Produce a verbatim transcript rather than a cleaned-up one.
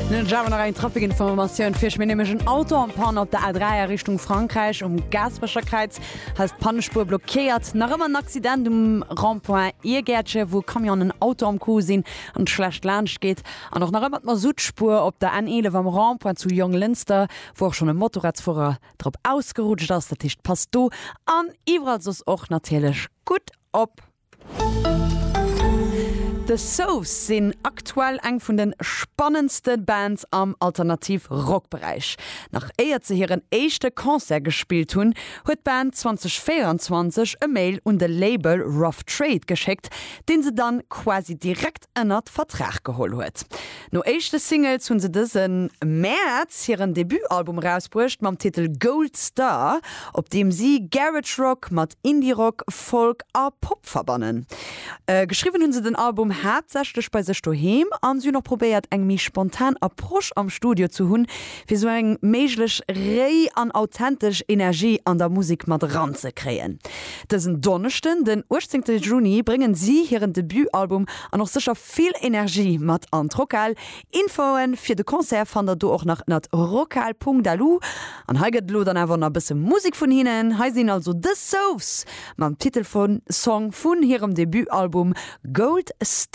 Dann hunn ech awer nach eng Trafikinformatioun fir iech. Mir nämlech en Auto en panne op der A dräi a Richtung Frankräich um Gaasperecher Kräiz. Hei ass d'Pannespuer blockéiert. Nach ëmmer en Accident um Rond-point Iergäertche wou e Camion an en Auto am Coup sinn an et schlecht laanscht geet. An och nach ëmmer d'Masuttspuer op der N eelef am Rond-point zu Jonglënster, wou och schonn e Motorradsfuerer drop ausgerutscht ass. Dat heescht passt do an iwwerall soss och natierlech gutt op. The Sofs sinn aktuell eng vun de spannendste Bands am Alternativ Rock Beräich. Nach éiert se hiren éischte Concert gespillt hunn, huet d'Band zweedausendvéieranzwanzeg e Mail un de Label Rough Trade geschéckt, deen se dann quasi direkt ënnert Vertrag geholl huet. No éischte Singles hunn se dëse Mäerz hiren Debutalbum erausbruecht mam Titel Gold Star, op deem si Garage Rock mat Indie Rock, Folk a Pop verbannen. Geschriwwen hunn se den Album haaptsächlech bei sech doheem an si hunn och probéiert eng méi spontan Approche am Studio ze hunn, fir sou eng méiglech réi an authentesch Energie an der Musek mat eranzekréien. Dësen Donneschden, den uechtzéngte Juni, bréngen si hiren Debutalbum an och sécher vill Energie mat an d'Rockhal. Infoen fir de Concert fannt der do och nach ënnert rockhal.lu. An hei gëtt elo dann awer nach e bësse Musek vun hinnen. Hei sinn also The Sofs mam Titelsong vun hirem Debutalbum Gold Star.